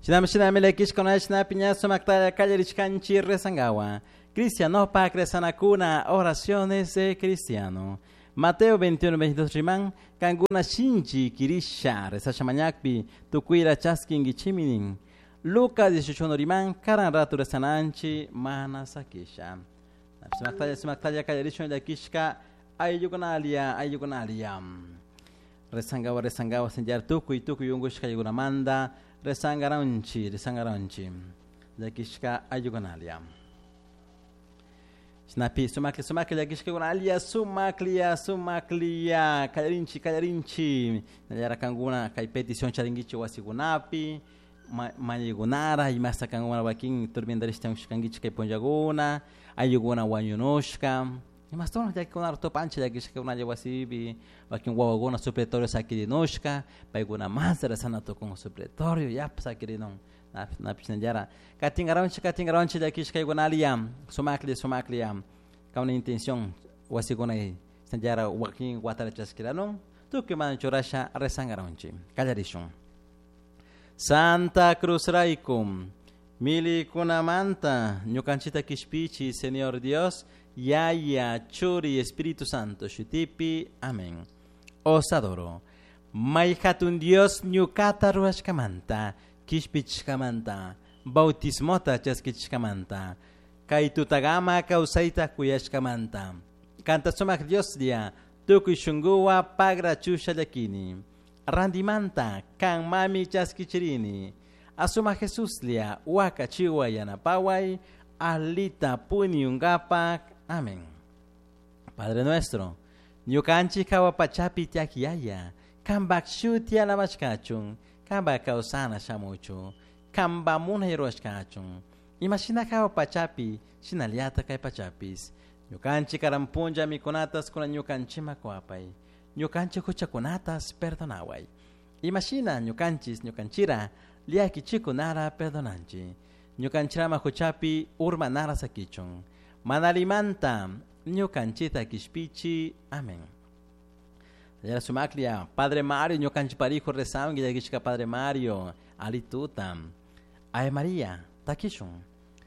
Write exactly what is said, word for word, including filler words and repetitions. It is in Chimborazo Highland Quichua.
Shinami shinami llakishkuna shinapi ña sumaktalla kallarishkanchik rezangawa. Cristianopak rezanakuna, oraciones de cristiano. Mateo veintiuno, veintidós riman, kankuna shinchi kirisha, rezasha mañakpi, tukuyra chaskinkichimi nin. Lucas dieciocho uno riman, karan ratu rezananchi, mana sakisha. Sumaktalla, sumaktalla kallarishun llakishka, ayllukunalia, ayllukunalia. Rezangawa, rezangawa, señor, tukuy, tukuy unkushka ayllukunamanta, rezangaranchi, rezangaranchi. Llakishka ayllukunalia. Shinapi, sumakli, sumakli, llakishkakunalia, sumaklia, sumaklia, kallarinchi, kallarinchi. Nallara kankuna kay petición charinkichik wasikunapi, mañaykunara, imasta kankuna wakin turbientarishta unkushkankichik kay punllakuna, ayllukuna wañunushka. Imastuna llakikunara tupanchik llakishkakunalla wasipi, wakin wawakuna supletorio sakirinushka, paykuna mas rezana tukun supletorio, yapa sakirinun. Napish nallara. Katinkaranchik, katinkaranchik llakishkaykunalia, sumakli, sumaklia, kauna intención wasikuna nallara wakin watara chaskiranun, tukuy mana churasha rezankaranchik. Kallarishun. Santa Cruz raykum, milikunamanta ñukanchita kishpichi, Señor Dios, Yaya, Churi, Espíritu Santo, shutipi, amén. Os adoro. May hatun Dios ñukata ruwashkamanta, kishpichkamanta, bautismota chaskichkamanta, kay tutagama kawsayta kuyashkamanta. Kanta sumak Dios dia, tukuy shunkuwa pagra chusha llakini. Randimanta, kan mami chaskichirini. Asuma Jesús lia, waka chiwa yanapaway, alita puniungapak. Amén. Padre nuestro, ñukanchik hawa pachapi tiak yaya, kambak shuti alabashkachun, kamba kawsana shamuchu, kamba munay ruwashkachun. Imashina hawa pachapi, shinallata kay pachapis. Ñukanchik karanpunlla mikunatas kuna ñukanchima kuapay. Ñukanchik huchakunatas perdonaway. Imashina ñukanchis ñukanchira llakichikunara perdonanchi. Ñukanchirama huchapi urmanara sakichun. Manalimanta ñukanchita kishpichi. Amén. Yara sumaklia, Padre Mario, ñukanchi parijo rezangi, llakishka Padre Mario, alituta. Ave María, takishun.